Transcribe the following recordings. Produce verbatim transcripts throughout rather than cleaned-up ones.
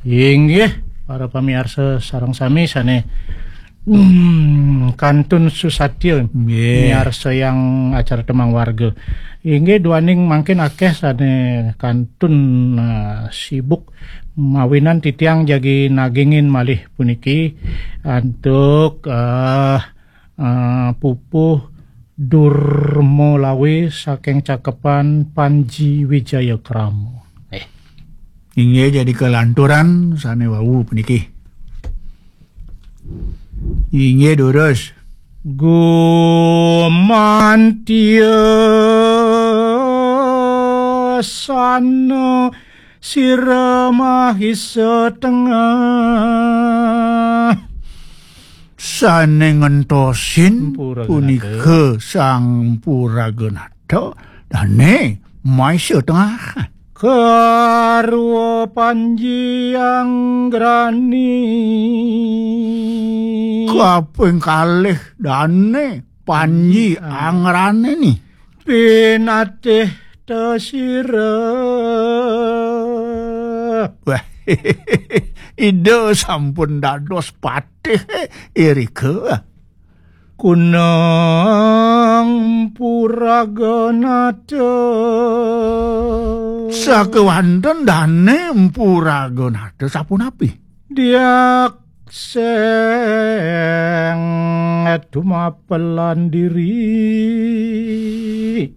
Inggih, para pamiarsa sareng sami sane, hmm, kantun susatya Nggih. Miarsa yang acara Temang Warga. Inggih, duaning mangkin akeh sane kantun, eh, sibuk mawinan titiang jagi nagingin malih puniki antuk, eh, eh, pupuh Durma Lawe saking cakepan Panji Wijaya Krama. Eh. Inggih, jadi kelanturan sane wau puniki. Inggih, durus. Gumantia sana sira mahisa tengah. Sane ngentosin Mpuraganatha. Punika Sang Mpuraganatha dane mahisa tengah. Garwa Panji Anggrani. Kaping kalih dane Panji Anggrani ni. Pinatih tasira. Wah, Ida sampun dados patih irika. Kunang Mpuraganatha. Sakewanten dane Mpuraganatha sapunapi? Diak seng dumapelan diri.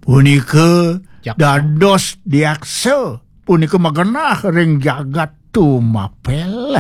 Punika Jak. Dados diaksa. Punika magenah ring jagat tumapel.